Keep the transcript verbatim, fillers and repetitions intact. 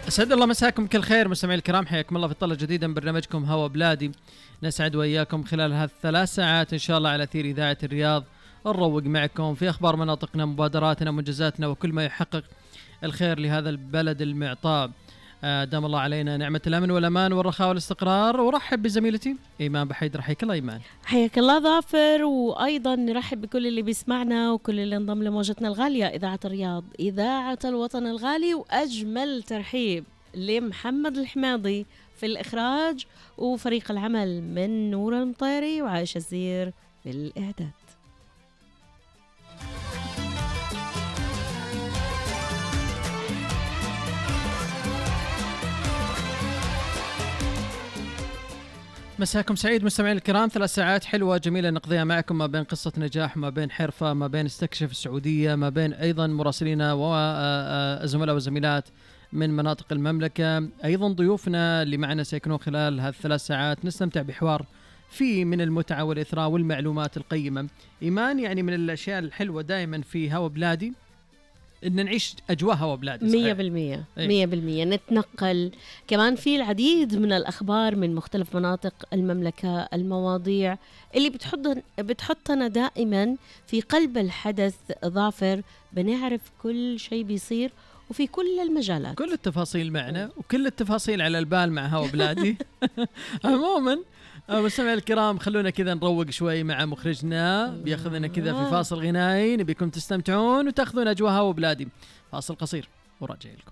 أسعد الله مساكم كل خير مستمعي الكرام، حياكم الله في طلة جديدة من برنامجكم هوا بلادي. نسعد وإياكم خلال هذه الثلاث ساعات إن شاء الله على أثير إذاعة الرياض، نروق معكم في أخبار مناطقنا، مبادراتنا، منجزاتنا، وكل ما يحقق الخير لهذا البلد المعطاء. دام الله علينا نعمة الأمن والأمان والرخاء والاستقرار. ورحب بزميلتي إيمان بحيدر. حياك الله إيمان. حياك الله ظافر، وأيضا نرحب بكل اللي بيسمعنا وكل اللي انضم لموجتنا الغالية إذاعة الرياض، إذاعة الوطن الغالي. وأجمل ترحيب لمحمد الحماضي في الإخراج وفريق العمل من نور المطيري وعائشة الزير في الإعداد. مساكم سعيد مستمعين الكرام. ثلاث ساعات حلوة جميلة نقضيها معكم، ما بين قصة نجاح، ما بين حرفة، ما بين استكشف السعودية، ما بين أيضا مراسلين وزملاء وزميلات من مناطق المملكة، أيضا ضيوفنا اللي معنا سيكونون خلال هذه الثلاث ساعات. نستمتع بحوار فيه من المتعة والإثراء والمعلومات القيمة. إيمان، يعني من الأشياء الحلوة دائما في هوا بلادي إن نعيش أجواء هوا بلادي مية بالمية مية بالمية نتنقل كمان في العديد من الأخبار من مختلف مناطق المملكة، المواضيع اللي بتحط بتحطنا دائما في قلب الحدث. ظافر، بنعرف كل شيء بيصير وفي كل المجالات، كل التفاصيل معنا وكل التفاصيل على البال مع هوا بلادي. عموما مستمعي الكرام، خلونا كذا نروق شوي مع مخرجنا، بياخذنا كذا في فاصل غنائي، نبيكم تستمتعون وتاخذون أجواء هوا بلادي. فاصل قصير وراجع لكم.